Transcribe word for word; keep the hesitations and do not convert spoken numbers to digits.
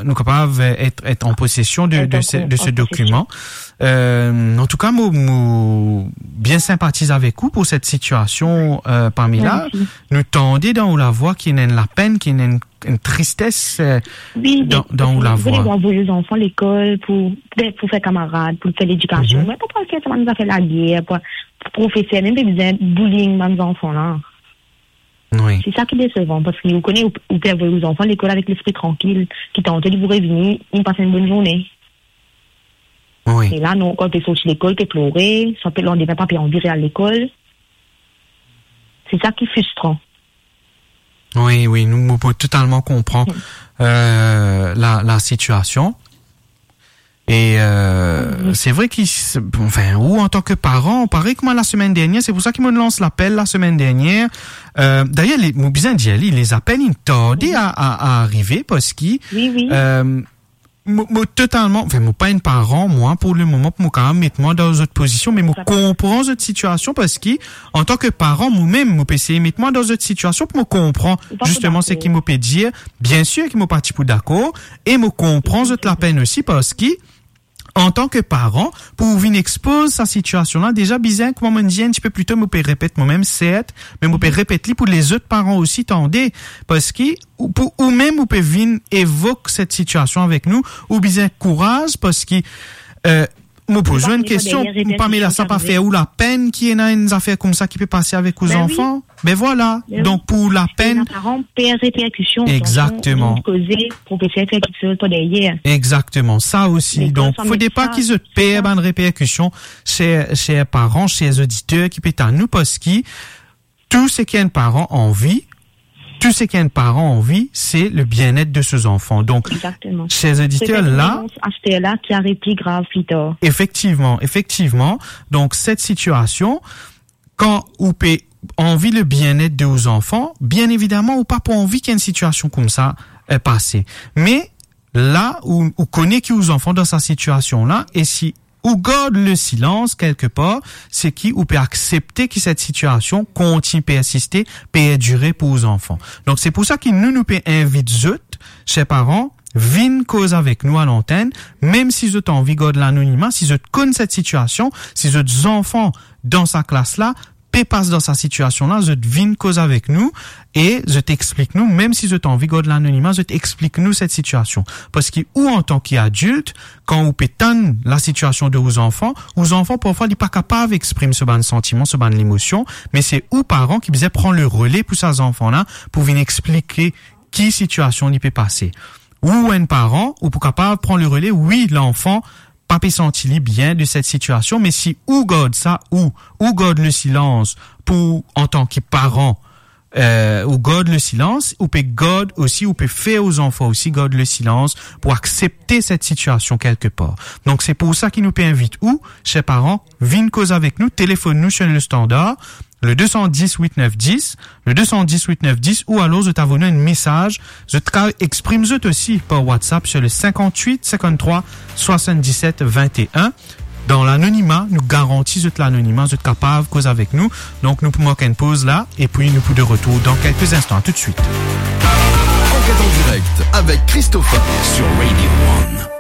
nou kapav, euh, être, être en possession de, de ce, de ce document. Euh, an tou ka, mo, mo bien sympathize avec vous pour cette situation, euh, Pamela. Mersi. Nou tande dan ou lavwa ki ena enn lapenn, ki ena enn, enn tristes, euh, dan, dan ou lavwa. Wi, parski zot avoy zanfan lekol pou, pou fer kamarad, pou fer ledikasion. Me pa pou al fer sa bann zafer lager, pou, pou profeser, mem pe bizin bullying bann zanfan la. Wi. Se sa ki desevan, parski ou kone, ou, ou pe avoy ou zanfan lekol avek lespri trankil, ki tanto li pou revini, li pas enn bonn zourne. Wi. E la, non, kan pe sorti lekol, pe plore, sa pe landime pa pe anvi re al lekol. Se sa ki fristran. Wi, wi, nou, nou pe totalman konpran, euh, la, la sitiasion. E, euh, se vre ki, anfin, ou antan ki paran, parey kouma lasemenn dernier, se pou sa ki mo lans lapel lasemenn dernier. Euh, dayer, le, mo bizin dir li, lezapel inn tarde a, a, a arive, parski, euh, mo, mo totalman, anfin, mo pa enn paran, mwa, pou lemoman, pou mo kapav met mwa dan zot pozision, me mo konpran zot sitiasion, parski, antan ki paran, mo mem, mo pe esey met mwa dan zot sitiasion pou mo konpran zisteman seki mo pe dir. Biensir ki mo pa ti pou dakor, e mo konpran zot lapenn osi, parski, antan ki paran, pou ou vinn expoz sa sitiasion la, deza bizin, kouma mo dir enn tipe pli to, mo pe repet mwa mem, sert, me mo pe repet li pou lezot paran osi tande, parski ou, pou ou mem, ou pe vinn evok set sitiasion avek nou, ou bizin kouraz, parski, euh, mo poz ou enn kestion, Pamela, sa pa fer ou lapenn ki ena enn zafer koumsa ki pe pase avek ou zanfan? Be vwala. Be wi. Donk, pou lapenn, paran per reperkision. Egzakteman. Koze, profeser fer kiksoz par deryer. Egzakteman, sa osi. Donk, fode pa ki zot per bann reperkision, ser, ser paran, ser oditer ki pe tann nou, parski tou seki enn paran anvi, tou seki enn paran anvi, se le bien-être de ses enfants. Donk, ser oditer, la, aster la, ki ariv pli grav pli tar. Efektivman, efektivman. Donk, set sitiasion, kan ou pe anvi le bien-être de ou zanfan, bien evidaman, ou pa pou anvi ki enn sitiasion koumsa, euh, pase. Me la, ou, ou kone ki ou zanfan dan sa sitiasion la, e si ou gard le silans kelkepar, se ki ou pe aksepte ki set sitiasion kontign persiste, perdire pou ou zanfan. Donk, se pou sa ki nou, nou pe invit zot, ser paran, vinn koz avek nou a lantenn, mem si zot anvi gard lanonima, si zot konn set sitiasion, si zot zanfan dan sa klas la, pe pas dan sa sitiasion la, zot vinn koz avek nou e zot explik nou, mem si zot anvi gard lanonima, zot explik nou set sitiasion. Parski ou, antan ki adilt, kan ou pe tann lasitiasion de ou zanfan, ou zanfan, parfwa, li pa kapav exprim so bann santiman, so bann lemosion, me se ou, paran, ki bizin pran le rele pou sa zanfan la, pou vinn explike ki sitiasion li pe pase. Ou enn paran, ou pou kapav pran le rele, wi, lanfan pa pe santi li bien de set sitiasion, me si ou gard sa, ou, ou gard le silans pou, antan ki paran, euh, ou gard le silans, ou pe gard osi, ou pe fer ou zanfan osi gard le silans pou aksepte set sitiasion kelkepar. Donk, se pou sa ki nou pe invit ou, ser paran, vinn koz avek nou, telefonn nou sur le standard, le deux cent dix huit neuf dix, le deux cent dix huit neuf dix, ou alor zot avoy nou enn mesaz, zot kapav exprim zot osi par WhatsApp sur le cinquante-huit cinquante-trois soixante-dix-sept vingt et un. Dan lanonima, nou garanti zot lanonima, zot kapav koz avek nou. Donk, nou pou mark enn poz la, epi nou pou de retour dans quelques instants. À tout de suite. Enquête en direct avec Christopher sur Radio One.